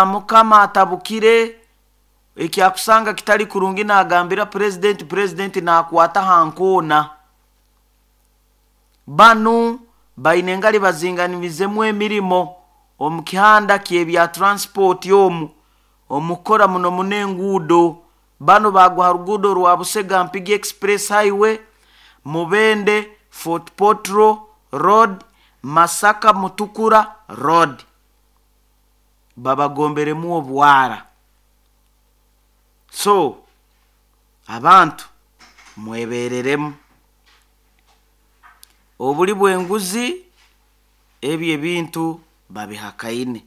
Mukama atabukire ekyakusanga kitali kurungi nagambira purezidenti, purezidenti nakwata ha nkoona. Banu baine engali bazinganizemu emirimo omu kihanda ky'ebya transport omu omukukora muno muno enguudo. Banu bagwa ha ruguudo rwa Busega Mpigi Express Highway, Mubende Fort Portal Road, Masaka Mutukura Road. Babagomberemu obwara. So abantu mwebereremu. Obuli bw'enguzi ebyo ebintu babihakaine.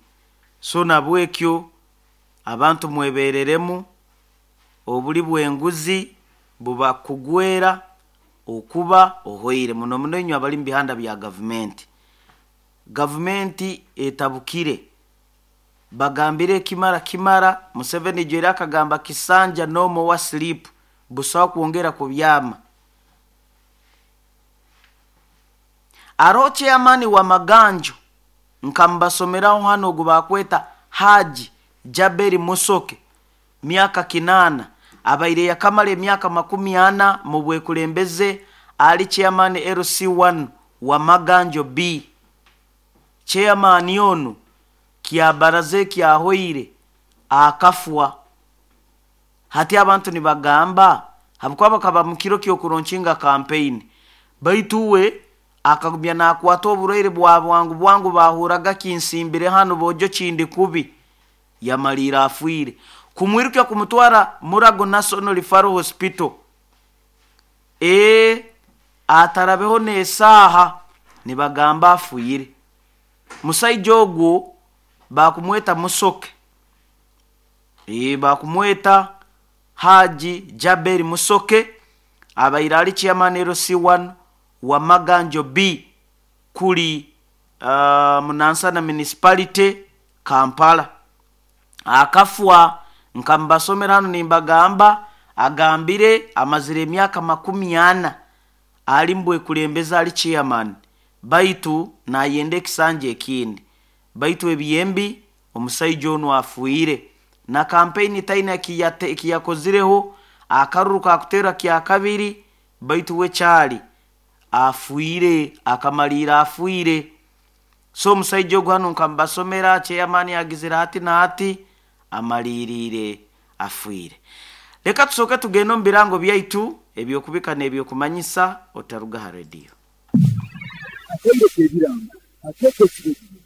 So nabwekyo abantu mwebereremu, obuli bw'enguzi bubakugwera okuba ohoire muno muno inywe abali mu bihanda bya gavumenti. Gavumenti etabukire, bagambire ekimara kimara, Museveni ijo akagamba kisanja no more sleep, busaho kwongera kubyama. Aroho chairman wa Maganjo nkamubasomeraho hanu ogu bakweta Haji Jaberi Musoke, myaka 8 abaire yakamara emyaka 40 mu bwekulembeze ali chairman LC1 wa Maganjo B. Chairman onu kyabaraza ekyahoire akafwa. Hati abantu nibagamba habwokuba bakaba mu kiro ky'okuronkinga campaign, baitu we akagumya nakwata oburwaire bwa bwangu bwangu bahuraga kinsimbire hanu bojo kindi kubi, yamaliire afiire. Kumwirukya kumutwara Murago National Referral Hospital, atarabeho n'esaaha nibagamba afiire. Musaija ogwo bakumweta Musoke, bakumweta Haji Jaberi Musoke, abaire ali chairman LC1 wa Maganjo B kuli Munansana Municipality, Kampala. Akafwa nkamubasomera hanu nimbagamba agambire amazire emyaka 40 ali mu bwekulembeze ali chairman, baitu nayenda ekisanja ekindi. Baitu ebyembi omusaija onu afiire na kampeyini taina ekiyakozireho, akaruru kakuteerwa kyakabiri, baitu we kyali afiire, akamaliira afiire. So omusaija ogu hanu nkamubasomera chairman agizire hati na hati amaliriire afiire. Leka tusooke tugende omu birango byaitu eby'okubika n'ebyokumanyisa otaruga ha rediyo. Akaire k'ebirango akeekesire.